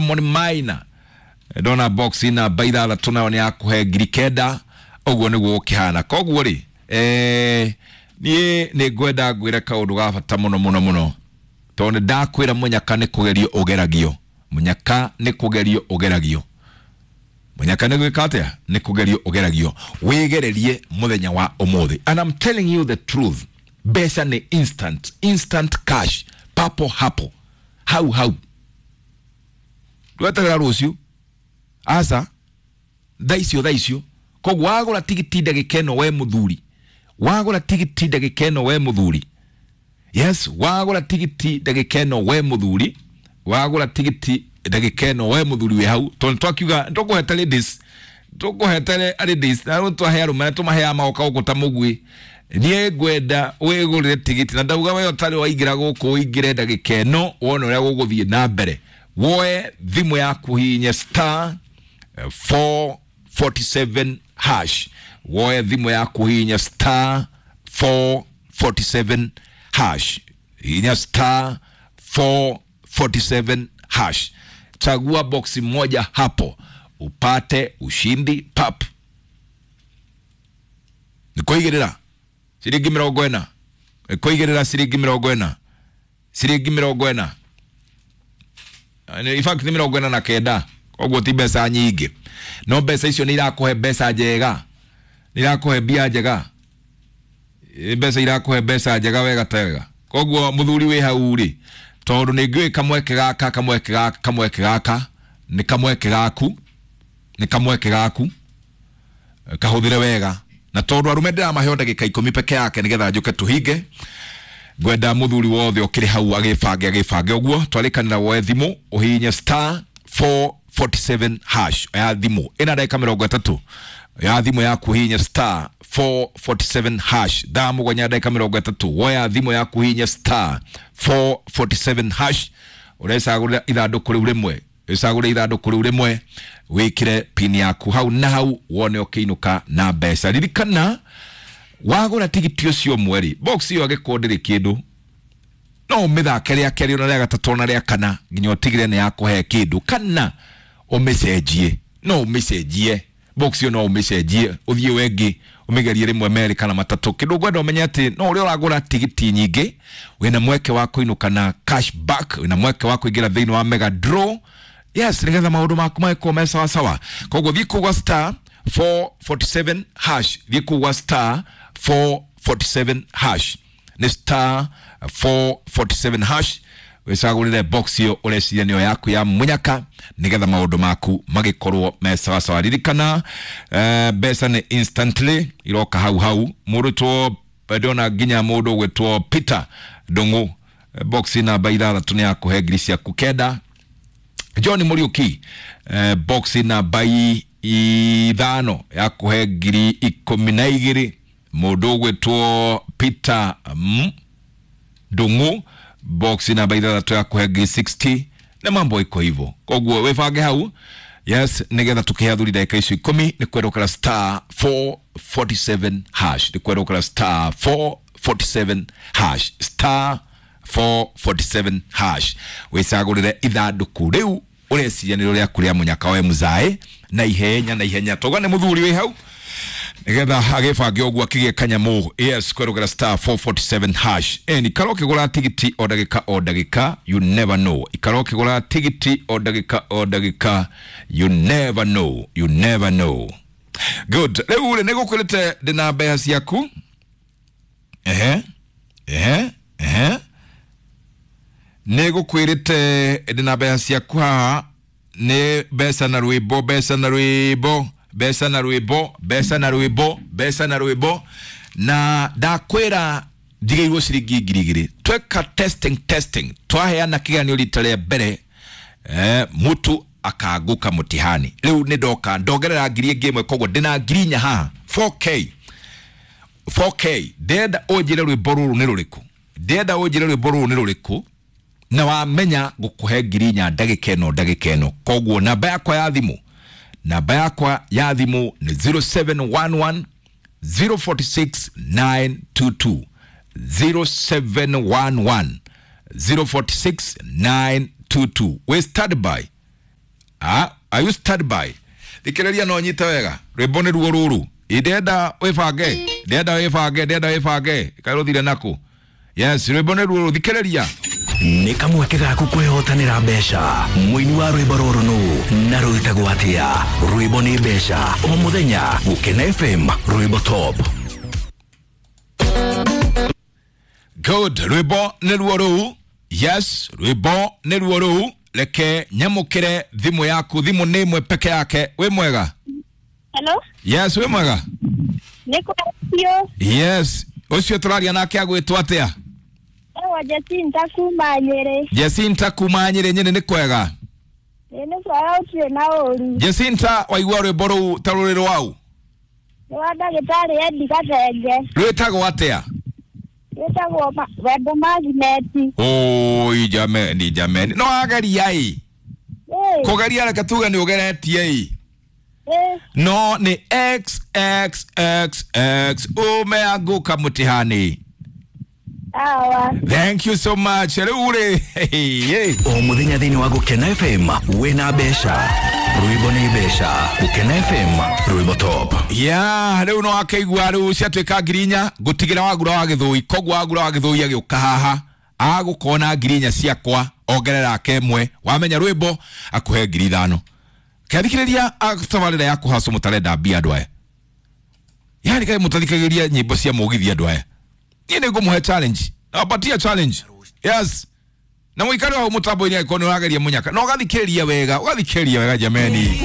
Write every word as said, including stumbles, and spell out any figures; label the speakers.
Speaker 1: Solomon Maina ndona box namba ithathatũ nayo nĩ yakũhe ngiri kenda. Ũguo nĩguo gũkĩhana. Koguo rĩ, eh, niĩ nĩ ngwenda ngwĩre kaũndũ ga bata mũno mũno mũno, tondũ nĩ ndakwĩra mũnyaka nĩ kũgerio ũgeragio. Mũnyaka nĩ kũgerio ũgeragio. Mũnyaka nĩ gwĩka atĩa? Nĩ kũgerio ũgeragio. Wĩgererie mũthenya wa ũmũthĩ. And I'm telling you the truth, mbeca nĩ instant, instant cash, papo hapo, hau hau. Ndweterera rũciũ, aca, thaa icio thaa icio. Koguo wagũra tigiti ndagĩka ĩno we mũthuri, wagũra tigiti ndagĩka ĩno we mũthuri, yes, wagũra tigiti ndagĩka ĩno we mũthuri, wagũra tigiti ndagĩka ĩno we mũthuri wĩ hau, tondũ twakiuga tũkũhete ladies, tũkũhete ladies na rĩu twahe arũme na tũmaheaga magoka gũkũ ta mũgui. Niĩ ngwenda wĩgũrĩre tigiti, na ndauga we ũtarĩ waingĩra gũkũ ũingĩre ndagĩka ĩno wone ũrĩa gũgũthiĩ na mbere. Woe thimũ yaku hihinye star four forty-seven hash. Woe thimũ yaku hihinya star four forty-seven hash. Hihinya star four forty-seven hash. Chagua boksi moja hapo upate ushindi pap. Nikuigirira ciringi mĩrongo ĩna. Nikuigirira ciringi mĩrongo ĩna. Ciringi mĩrongo ĩna. In fact nĩ mĩrongo ĩna na kenda. Koguo ti mbeca nyingĩ, no mbeca icio nĩ irakũhe mbeca njega, nĩ irakũhe mbia njega, mbeca irakũhe mbeca njega wega tega. Koguo mũthuri wĩ hau rĩ, tondũ nĩ ngĩũĩ kamweke gaka, kamweke gaka, kamweke gaka nĩ kamweke gaku, nĩ kamweke gaku, kahũthĩre wega. Na tondũ arũme ndĩramahe o ndagĩka ikũmi peke yake nĩgetha njũke tũhinge, ngwenda mũthuri wothe ũkĩrĩ hau agĩbange, agĩbange ũguo. Twarĩkanĩra woe thimũ ũhihinye star four forty-seven hash ya thimũ ĩna ndagĩka mĩrongo ĩtatũ ya thimũ yaku, hihinya star four forty-seven hash. Thaa mũgwanja ndagĩka mĩrongo ĩtatũ, woya thimũ yaku hihinya star four forty-seven hash. Ũrecagũrĩra ithandũkũ rĩu rĩmwe, ũcagũre ithandũkũ rĩu rĩmwe, wĩkĩre pin yaku hau na hau, wone ũkĩinũka na mbeca. Ririkana wagũra tigiti ũcio ũmwe rĩ, box ĩyo angĩkorwo ndĩrĩ kĩndũ, no ũmĩthake rĩa kerĩ ona rĩa gatatũ ona rĩa kana nginya ũtigĩre nĩ yakũhe kĩndũ, kana ũmĩcenjie. No ũmĩcenjie box ĩyo, no ũmĩcenjie ũthiĩ wengĩ ũmĩgerie rĩmwe merĩ kana matatũ. Kĩndũ ngwenda ũmenye atĩ no ũrĩa ũragũra tigiti nyingĩ, wĩna mweke wa kũinũka na cash back, wĩna mweke wa kũingĩra thĩinĩ wa mega draw. Yes, nĩgetha maũndũ maku magĩkorwo me sawa sawa. Koguo thiĩ kũu gwa star four forty-seven hash, thiĩ kũu gwa star four forty-seven hash, nĩ star four forty-seven hash, wĩcagũrĩre box ĩyo ũreciria nĩyo yaku ya mũnyaka, nĩgetha maũndũ maku magĩkorwo me sawa sawa. Ririkana, eh, mbeca nĩ instantly iroka hau hau. Mũndũ two ndĩrona nginya mũndũ ũgwĩtwo Peter Ndung'u, box namba ithathatũ nĩ yakũhe ngiri ciaku kenda. John Muriuki, eh, box namba ithano yakũhe ngiri ikũmi na igĩrĩ. Mũndũ ũgwĩtwo Peter M Ndung'u, box namba ithathatũ yakũhe ngiri sixty, na mambo iko hivyo. Koguo wĩbange hau, yes, nĩgetha tũkĩhe athuri ndagĩka icio ikũmi. Nĩ kwerũkĩra star four forty-seven hash, nĩ kwerũkĩra star four forty-seven hash, star four forty-seven hash. Wĩcagũrĩre ithandũkũ rĩu ũreciria nĩ rĩaku rĩa mũnyaka we mũzae, na ihenya na ihenya. Toga nĩ mũthuri wĩ hau nĩgetha agĩbange ũguo akĩgĩe kanyamũ. Yes, kwerũkĩra star four forty-seven hash. Eni ikara ũkĩgũra tigiti o ndagĩka o ndagĩka, you never know. Ikara ũkĩgũra tigiti o ndagĩka o ndagĩka, you never know, you never know. Good. Rĩu rĩ, nĩgũkwĩrĩte ndĩna mbeca ciaku. Ehe, ehe, ehe. Nĩgũkwĩrĩte ndĩna mbeca ciaku haha, nĩ mbeca na rwĩmbo, mbeca na rwĩmbo, mbeca na rwĩmbo, mbeca na rwĩmbo, mbeca na rwĩmbo. Na ndakwĩra njigĩirwo ciringi ngiri igĩrĩ. Tweka testing, testing, twaheana kĩgeranio rita rĩa mbere, eh, mũtu akaanguka mũtihani. Rĩu nĩ ndoka ndongerera ngiri ĩngĩ ĩmwe, koguo ndĩna ngiri inya haha, four K, four K. Ndĩrenda ũnjĩre rwĩmbo rũrũ nĩ rũrĩkũ, ndĩrenda ũnjĩre rwĩmbo rũrũ nĩ rũrĩkũ, na wamenya ngũkũhe ngiri inya ndagĩka ĩno, ndagĩka ĩno. Koguo namba yakwa ya thimũ, namba yakwa ya thimũ nĩ zero seven one one zero forty six nine two two, zero seven one one zero forty six nine two two. We stand by. Ah, are you stand by? Thikĩrĩria no nyite wega. Rwĩmbo nĩ ruo rũrũ. Ndenda wĩbange, ndenda wĩbange, ndenda wĩbange. Kaĩ rũthire nakũ? Yes, rwĩmbo nĩ ruo rũrũ. Thikĩrĩria.
Speaker 2: Nĩ kamweke gaku kwĩhotanĩra mbeca. Mũini wa rwĩmbo rũrũ nũ na rwĩtagwo atĩa? Rwĩmbo nĩ mbeca. O mũthenya Gũkena F M, rwĩmbo top.
Speaker 1: Good. Rwĩmbo nĩ ruo rũu. Yes, rwĩmbo nĩ ruo rũu. Reke nyamũkĩre thimũ yaku. Thimũ nĩ ĩmwe peke yake. Wĩ mwega?
Speaker 3: Hello?
Speaker 1: Yes, wĩ mwega?
Speaker 3: Nĩ kwcio.
Speaker 1: Yes. Ũcio tũraria nake agwĩtwo atĩa?
Speaker 3: Ewa Jacinta kuma Nyĩrĩ.
Speaker 1: Jacinta kuma Nyĩrĩ. Nyĩrĩ nĩ kwega?
Speaker 3: Ĩ, nĩ kwega, ũtirĩ na ũru.
Speaker 1: Jacinta, waigua rwĩmbo rũu ta rũrĩ rwau?
Speaker 3: Nĩ wa ndagĩtarĩ Endi Gathenge.
Speaker 1: Rwĩtagwo atĩa?
Speaker 3: Wĩtagwo ma- Wendo Magineti.
Speaker 1: Oi jameni, jameni, no ageria ĩ.
Speaker 3: Ĩ.
Speaker 1: Kũgeria, reke tuge nĩ ũgeretie ĩ.
Speaker 3: Ĩ.
Speaker 1: No nĩ x x x x umeanguka mtihani.
Speaker 3: Awa.
Speaker 1: Thank you so much. Rĩu rĩ, hey.
Speaker 2: O mũthenya thĩinĩ wa Gũkena F M wĩna mbeca. Rwĩmbo nĩ mbeca. Gũkena F M, rwĩmbo top.
Speaker 1: Ya rĩu no akĩigua rĩu ciatuĩka ngiri inya ngũtigĩra wagura wa gĩthũi. Koguo wagura wa gĩthũi agĩũka haha agũkona ngiri inya ciakwa, ongerera ake ĩmwe, wamenya rwĩmbo akũhe ngiri ithano. Kĩathikĩrĩria tabarĩra ya kũhacwo, mũtarenda mbia andũ aya, yani kaĩ mũtathikagĩria nyĩmbo cia mũgithi andũ aya? Niĩ nĩ ngũmũhe challenge, nawapatia challenge. Yes, na mũikare hau mũtambo-inĩ angĩkorwo nĩ ũrageria mũnyaka na ũgathikĩrĩria wega, ũgathikĩrĩria wega jameni.